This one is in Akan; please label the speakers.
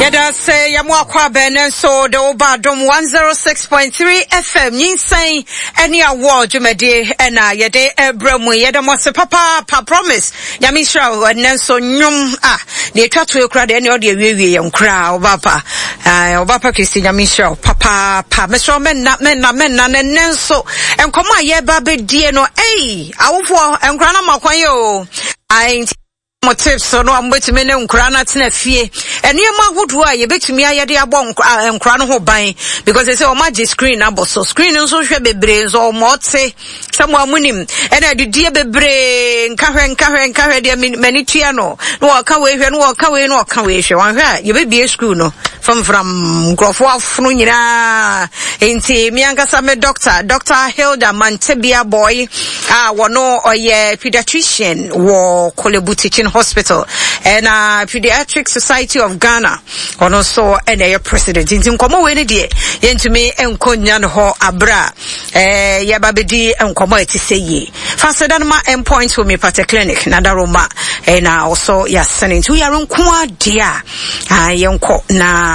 Speaker 1: Yɛda sɛ yɛmo akɔ abɛn no nso de wo ba Adom 106.3 FM nyinsɛn ɛne awɔ dwumadie ɛna yɛde ɛbrɛ mu. Yɛda mo ase papaapa. Promise Nyame nhyira wo. Ɛnɛ nso nnwom a deɛ ɛtwa toɔ kura deɛ ɛne ɔde awiewie yɛn koraa. Ɔba pa, ɔba pa Kristi, Nyame nhyira wo papaapa. Mesrɛ mɛnna mɛnna mɛnna na ɛnɛ nso nkɔmmɔ a yɛba bɛdie no, ei, awofoɔ nkora no ma kwan yɛ o. Ai, mo tips no a mobɛtumi ne nkora no atena fie, nneɛma ahodoɔ a yɛbɛtumi ayɛ de abɔ nkora no ho ban, because sɛ wɔn agye screen abɔ so, screen nso hwɛ bebree nso wɔn ɔte sɛ mo a monim ɛna adidie bebree nkahwɛ nkahwɛ nkahwɛ deɛ m'ani tua no na wɔka wei hwɛ na wɔka wei na wɔka wei hwɛ. Wɔnhwɛ a yɛbɛbie school no famfram nkurɔfoɔ afono nyinaa. Nti me ankasa me doctor, Dr. Hilda Mantebia Boy, a wɔno ɔyɛ pediatrician wɔ Korle Bu Teaching Hospital ɛna Pediatric Society of Ghana, ɔno nso ɛna ɛyɛ president. Nti nkɔmmɔ wei no deɛ yɛntumi nkɔ nnya no hɔ aberɛ a yɛba bɛdi nkɔmmɔ a ɛte sɛ yie. Fa aseda no ma Endpoint Homeopathic Clinic na daroma ɛna ɔsɔ yɛasene. Nti woyare nko adeɛ a, yɛnkɔ na